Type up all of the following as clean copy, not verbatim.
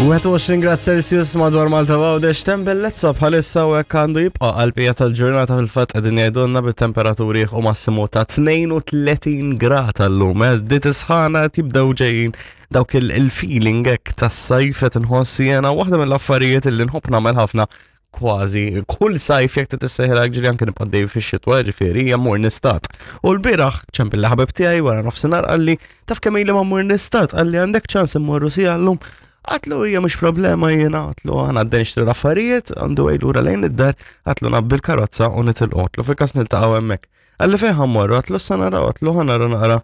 21 grad Celsius madwar Malta Għawdex tem bellezza bħalissa u hekk għandu jibqa' għall-bqija tal-ġurnata fil-fatt qegħdin jgħidulna bit-temperaturi u massimu ta' 32 grad għallum. Eh, Dit isħana qed jibdew ġejjin dawk il-feeling hekk tas-sajf qed inħoss jiena waħda mill-affarijiet li nħobb nagħmel ħafna kważi kull sajf jekk tissejħilha ġili anke nibqa' dejjem fix-xitwa ġifieri hija mmur nistat. U l-bieraħ ċempil li ħabib tiegħi wara nofsinhar qalli taf kemm ili ma mmur nistat qalli għandek ċans immorru sija llum. Għatlu hija mhux problema jiena għatlu għana għadden nixtri l-affarijiet għandu lura lejn id-dar għatlu nabbi l-karozza u nitilqu għatlu fil-każ niltaqgħu hemmhekk. Għalli fejn ħammorru, għatlu s naraw, għatlu ħanara naqra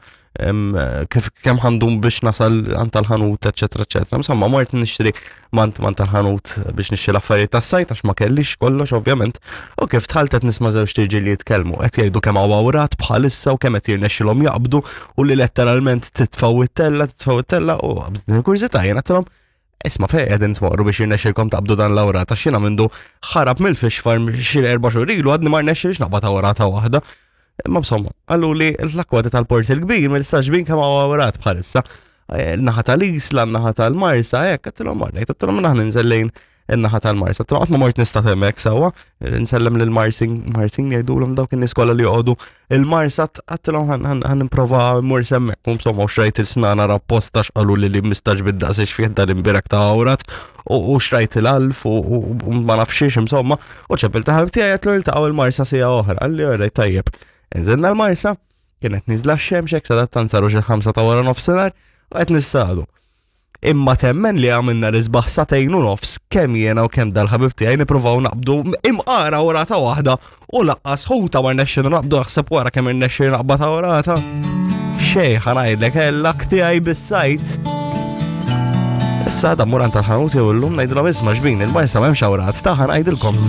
kif kemm ħandum biex nasal għand tal-ħanut, eċetera, eċetera. Insomma, mort nixtri mant mant tal-ħanut biex nixtri l-affarijiet tas-sajt għax ma kellix kollox ovvjament. U kif dħalt qed nisma' żewġ tirġiel li jitkellmu, qed jgħidu kemm hawn awrat bħalissa u kemm qed jirnexxilhom jaqbdu u li letteralment titfgħu it-tella, titfgħu it-tella u qabdet il-kurżità jien għedtilhom Isma' fejn qegħdin tmorru biex jirnexxilkom taqbdu dan l-awrata x'jiena mindu ħarab mill-fish farm xi erba' xhur ilu għadni ma rnexxilix naqbad awrata waħda. Imma insomma, qallu li l-akkwati tal-Port il-Kbir mill-istaġbin kemm hawn awrat bħalissa. Eh, naħa tal-Isla, naħa tal-Marsa, hekk għedtilhom marrejt, għedtilhom naħa ninżel lejn in-naħa tal-Marsa. Għatma ma mort nista' hemmhekk sewwa, nsellem lil Marsin, Marsin jgħidulhom dawk in-nies kollha li joqogħdu il-Marsa għattilhom ħan nipprova mmur semmek. U insomma u xrajt il-snana rapposta x'qalu li li mistax bid-daqs fih dan imbirek ta' awrat u xrajt il-alf u ma nafxiex insomma u ċepil ta' ħabib tiegħi għatlu niltaqgħu il-Marsa sija oħra. Għalli orrejt tajjeb. Inżilna l-Marsa, kienet niżla x-xemx hekk sadattant saru xi ħamsa ta' wara nofsinhar u qed nistadu. Imma temmen li għamilna l-isbaħ satejn u nofs kemm jiena u kemm dal-ħabib tiegħi nippruvaw naqbdu imqara orata waħda u laqqas ħuta ma rnexxina naqbdu aħseb wara kemm irnexxina naqbad orata. Xej ħanajdlek l-lak tiegħi bis-sajt. Issa da muran tal-ħanut jew illum ngħidilhom isma' xbin il-marsa m'hemmx awrat ta' ħanajdilkom.